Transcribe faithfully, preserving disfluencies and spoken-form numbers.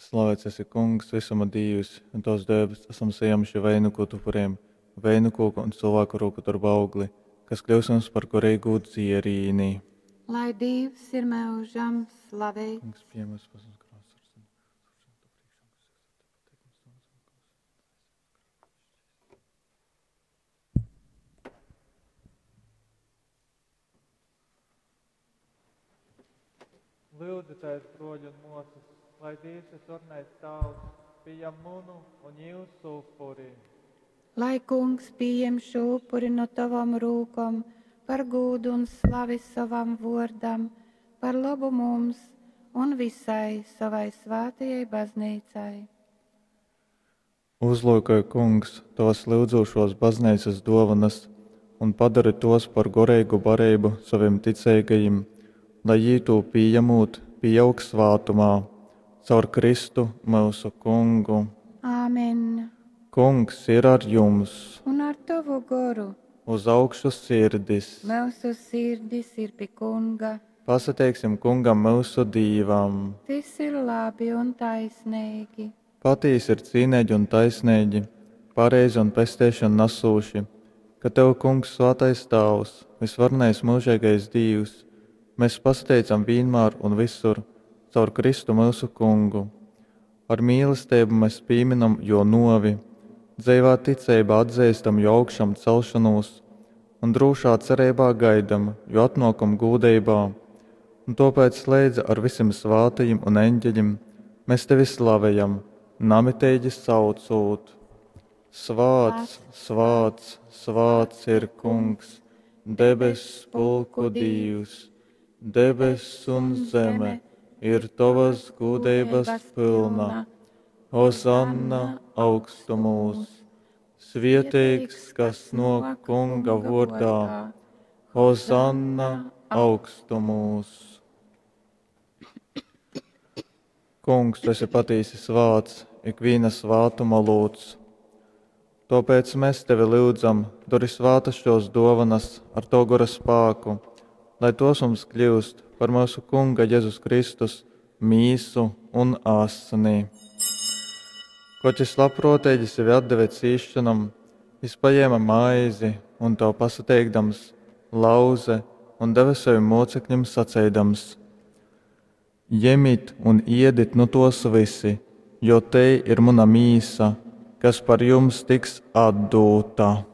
Slavēts esi, Kungs, visuma Dīvs, un Tavs dēbes esam sajēmuši veinuku upuriem, veinukoku un cilvēku roku darba augli, kas kļūs mums par garīgu dzierīni. Lai Dīvs ir mūžam slavēts. Kungs, pieņem mūsu pasaules krāsas. Lūdzieties, broļi un mosas, lai Dievs visvarenais Tēvs pieņem munu un jūsu upuri. Lai Kungs pieņem šo upuri no tavam rūkom par gūdu un slavi savam vārdam, par labu mums un visai savai svētajai baznīcai. Uzlūkoj, Kungs, tavas lyudzošos baznīcas dovanas un padari tos par goreigu barību saviem ticīgajiem, lai jī to pieņemot, pieaug svātumā, caur Kristu mūsu Kungu. Āmen. Kungs ir ar jums, Un ar tavu goru uz augšu sirdis. mūsu sirdis ir pie Kunga. Pasateiksim Kungam mūsu Dīvam. Tas ir labi un taisnīgi. Patīsi ir cīnīgi un taisnīgi, pareizi un pesteišanu nesūši, ka Tev, Kungs, svētais Tēvs, visvarenais mūžīgais Dīvs, mēs pasateicam vienmēr un visur, caur Kristu mūsu Kungu. Ar mīlestību mēs pieminam jo novi, dzeivā ticībā atzīstam jo augšām celšanos un drūšā cerībā gaidam jo atnākumu gūdeibā. Un tāpēc leidza ar visiem svātajiem un eņģeļiem mēs tevi slavējam, namitīgi saucot. Svāts, svāts, svāts ir Kungs, debess pulku Dīvs, debess un zeme ir tavas gūdeibas pilna. Hozanna augstumūs, svietīgs, kas no Kunga vārdā. Hozanna augstumūs. Kungs, tu esi patīsi svāts, ikviena svātuma lūdz. Tāpēc mēs tevi lūdzam, dori svātas šos dovanas ar to gora spēku, lai tos mums kļūst par mūsu Kunga Jēzus Kristus mīsu un asni. Koč es labprātīgi sevi atdeve cīšanam, jis paņēma maizi un to pasateikdams, lauze un deva saviem mocekļiem saceidams: Ņemit un iedit nu tos visi, jo te ir mana mīsa, kas par jums tiks atdūta.